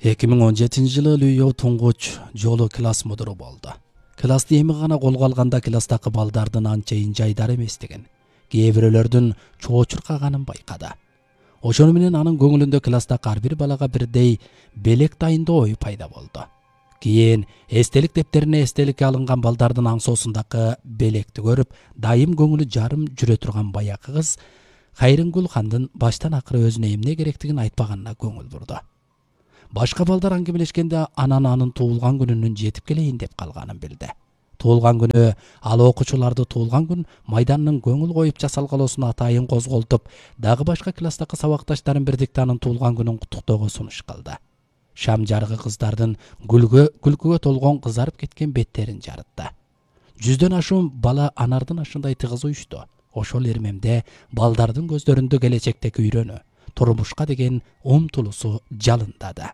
2017 Лүйөө туңгуч жолу класс мудуру болду. Классты эми гана колго алганда класстагы балдардын анчайын жайдар эместигин, кээ бирөөлөрдүн чоочуркаганын байкады. Ошону менен анын көңүлүндө класстагы ар бир балага бирдей белек дайындоо ой пайда болду. Кийин эстелик дептерине эстеликке алынган балдардын аңсоосундагы белекти көрүп, дайым көңүлү жарым жүрө турган баякы кыз Кайрынгүл хандын баштан акыры өзүнө эмне керектигин айтпаганына көңүл бурду. Башка балдар аңгемелешкенде анын туулган күнүнүн жетип келейин деп калганын билди. Туулган күнү ал окуучуларды туулган күн майданынын көңүл коюп жасалгалоосун атайын козголтуп, дагы башка класстагы сабакташтарын бирдикте анын туулган күнүн куттуктоого сунуш кылды. Шам жарыгы кыздардын күлкүгө толгон кызарып кеткен беттерин жарытты. 100дөн ашуун бала анардын ашындай тыгыз уюшту. Ошол эрмемде балдардын көздөрүндө келечектеги үйрөнүү, турмушка деген умтулуусу жалындады.